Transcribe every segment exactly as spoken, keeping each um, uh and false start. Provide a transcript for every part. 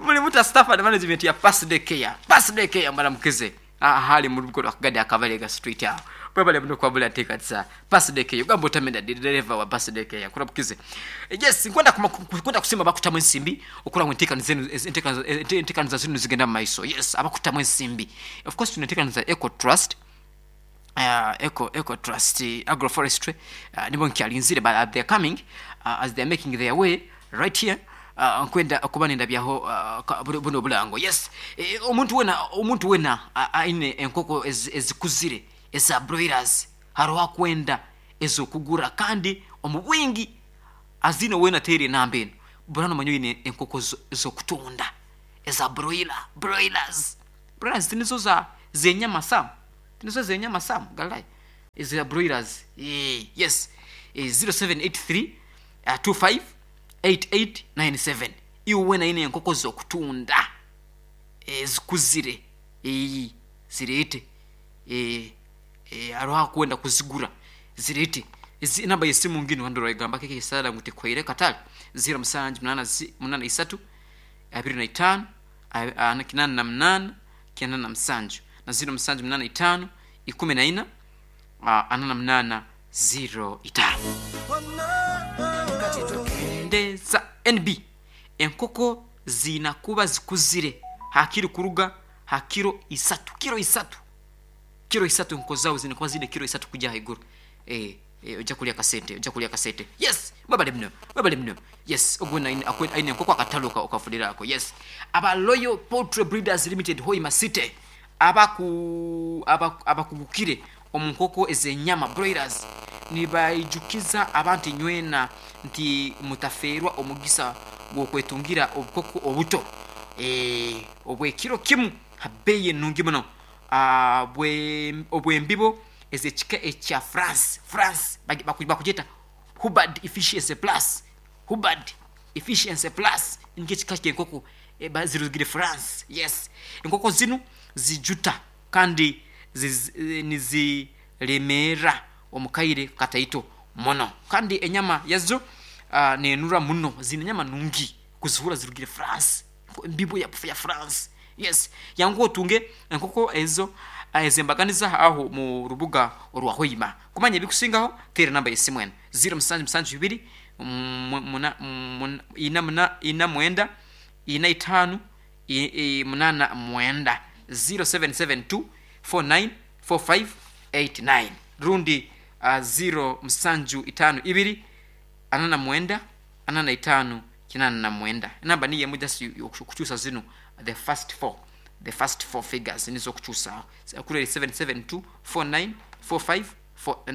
Muli muta staff and management ya Birthday Care. Birthday Care mbaramukize. Ahali mu rugo rwakagadi akabalega street aho. Mwebale muno kwabula nteekaniza Birthday Care. Ugamba otamenda dereva wa Birthday Care kuramukize. Yes, nkwenda kuma- kwenda kusima bakutamu ensimbi okura ngu enteekaniza enu- enteekaniza enteekaniza zinu zigenda mu maiso. Yes, abakutamu ensimbi. Of course tuneteekaniza Eco Trust, uh, Eco Eco Trust uh, Agroforestry, uh, nibo nkyalinzire, but uh, they're coming uh, as they're making their way right here. uh, nkwenda okuba nendabyaho uh, ka- buno buno obulango. Yes, eh, omuntu wena omuntu wena uh, aine enkoko ez- ezikuzire eza broilers, hariho akwenda ezokugura kandi omu bwingi. Azino wena teere enamba eno burano manyo ine enkoko zo- zokutunda eza broiler broilers broilers tinizo za zenyama sam, tinizo zenyama sam galai eza broilers. Eh, yes, eh, zero seven eight three uh, two five eight eight nine seven. Iwe wena ine enkoko zokutunda ezikuzire, eyi zireete. eh, eh, hariho akwenda kuzigura, zireete. Ezi- enamba yesimu ngino handora igamba keke isala ngu tekwaire katale zero musanju munana zi- munana isatu abiri na itano a- a- kinana na munana kinana na musanju na zero musanju munana itano ikumi na ina a, ana na munana zero itano. Ndeza N B, enkoko ziina kuba zikuzire hakiri kuruga ha kiro isatu, kiro isatu, kiro isatu. Enkoko zawe zina kuba zine kiro isatu kujya haiguru. eh, eh, ojja kulya kasente, ojja kulya kasente. Yes, mwebale muno, mwebale muno. Yes, ogwo aine aine enkoko akatalo ka- okafunirako. Yes, aba Royal Poultry Breeders Limited, Hoima City, abaku aba- abakugukire omu nkoko ez'enyama broilers, nibaijukiza abantu nywena nti mutafeerwa omugisa gw'okwetungira obukoko obuto eh, obwekiro kimu ha bbeeyi ennungi muno. Ah, bwe- obw'embibo ez'ekika ekya france france bagi- baku- bakugyeta Hubbard Efficiency Plus, Hubbard Efficiency Plus nikyo ekika ky'enkoko eh, ba- zirugire France. Yes, enkoko zinu zijuta kandi ziz- eh, niziremeera omu kaire kataito muno, kandi enyama yazo uh, nenura muno, zine enyama nungi kuzihura zirugire France, embibo ya, ya France. Yes, yangu otunge enkoko ezo ah, ezembaganiza aho mu rubuga orwa Hoima. Kumanya ebikusingaho tera namba yesimu eno zero musanju musanju ibiri mu- muna- mun- ina muna- ina mwenda ina itano i- i- munana mwenda, zero seven seven two four nine four five eight nine, rundi uh, zero musanju itano ibiri ana na mwenda ana na itano kinana na mwenda. Enamba niyo emu, just okukyusa zino the first four the first four figures nizo okukyusa kuri seven seven two four nine four five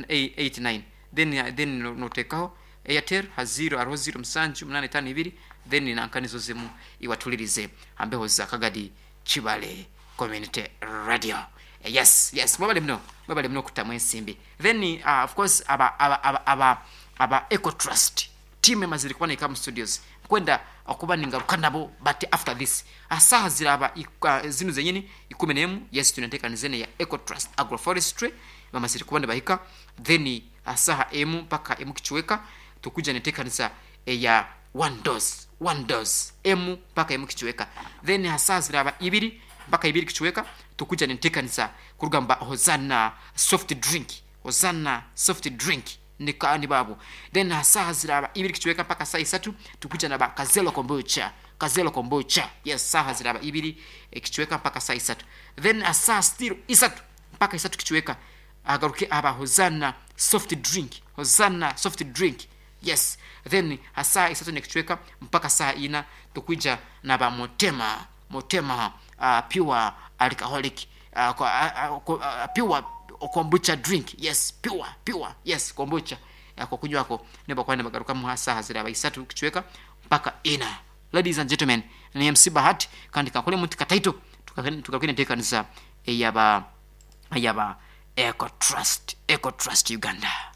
eight nine. Then uh, then no- notekaho Airtel ha zero hariho zero musanju munana itano ibiri, then nanka nizo zimu iwatulirize hambeho za Kagadi Kibale Community Radio. Eh, yes yes mwebale muno, mwebale muno okutamu ensimbi. Then uh, of course aba aba aba aba, aba Eco Trust team emazire kuba neka mu studios, kwenda okuba ningaruka nabo, but after this asaha ziraba ik- uh, zinu zenyini ikumi nemu. Yes, tunateekaniza ene ya Eco Trust Agroforestry, bamazire kuba nibahika. Then asaha emu mpaka emu kichweka tukuja neteekaniza eya One Dose, One Dose, emu mpaka emu kichweka. Then asaha ziraba ibiri mpaka ibiri kichweka tukuja neteekaniza kurugamba Hosana soft drink, Hosana soft drink nikani babo. Then asaha ziraba ibiri kichweka mpaka saa isatu tukuja na ba Kazelo Kombucha, Kazelo Kombucha. Yes, saha ziraba ibiri eh, kichweka mpaka saa isatu. Then asaha still isatu mpaka isatu kichweka agaruke aba Hosana soft drink, Hosana soft drink. Yes, then asaa isatu nekichweka mpaka saa ina tukuja na ba Motema, Motema uh, pure alcoholic uh, kwa, uh, uh, pure kombucha drink. Yes, pure pure, yes, kombucha kwa kunywako niba kwani bagaruka mu saha ziraba isatu kichweka mpaka ina. Ladies and gentlemen, ni M C Bahati, kandi kakole muti kataito tukakene tekanisa eyaba eyaba Eco Trust, Eco Trust Uganda.